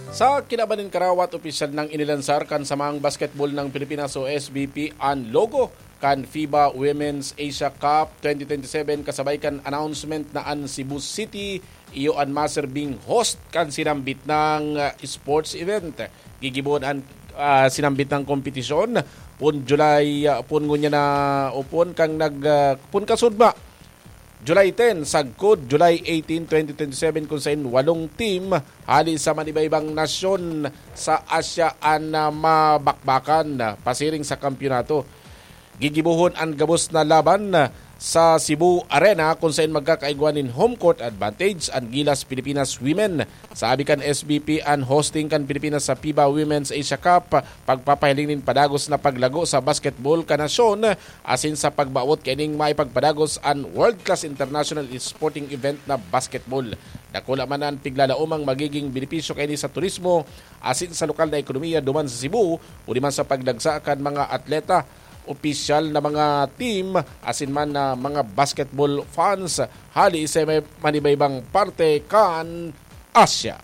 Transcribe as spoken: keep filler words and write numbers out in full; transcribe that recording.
Sa kinaban nin karawat, opisyal nang inilansar kan Samahang Basketball ng Pilipinas o S B P an logo kan FIBA Women's Asia Cup twenty twenty-seven, kasabay kan announcement na an Cebu City iyo an maserbing host kan sinambit nang, ah, sports event. Gigibohon an, ah, sinambit nang kompetisyon pon July, ah, pon ngunyan na, o pon kan nag, ah, pon kasudma July ten sagkod July eighteen, twenty twenty-seven, kun sain walong team hali sa manibaybang nasyon sa Asia an, ah, mabakbakan, ah, pasiring sa kampiyonato. Gigibohon an gabos na laban, ah, sa Cebu Arena, kun sain magkakaigwa nin home court advantage an Gilas Pilipinas Women. Sa abi kan S B P, an hosting kan Pilipinas sa FIBA Women's Asia Cup pagpapahiling nin padagos na paglago sa basketball kan nasyon, asin sa pagbawot kaining maipagpadagos an world-class international sporting event na basketball. Dakula man an piglalaomang magiging benepisyo kaini sa turismo asin sa lokal na ekonomiya duman sa Cebu, uli man sa pagdagsa kan mga atleta, opisyal na mga team, asin man na mga basketball fans hali sa may manibaybang parte kan Asia.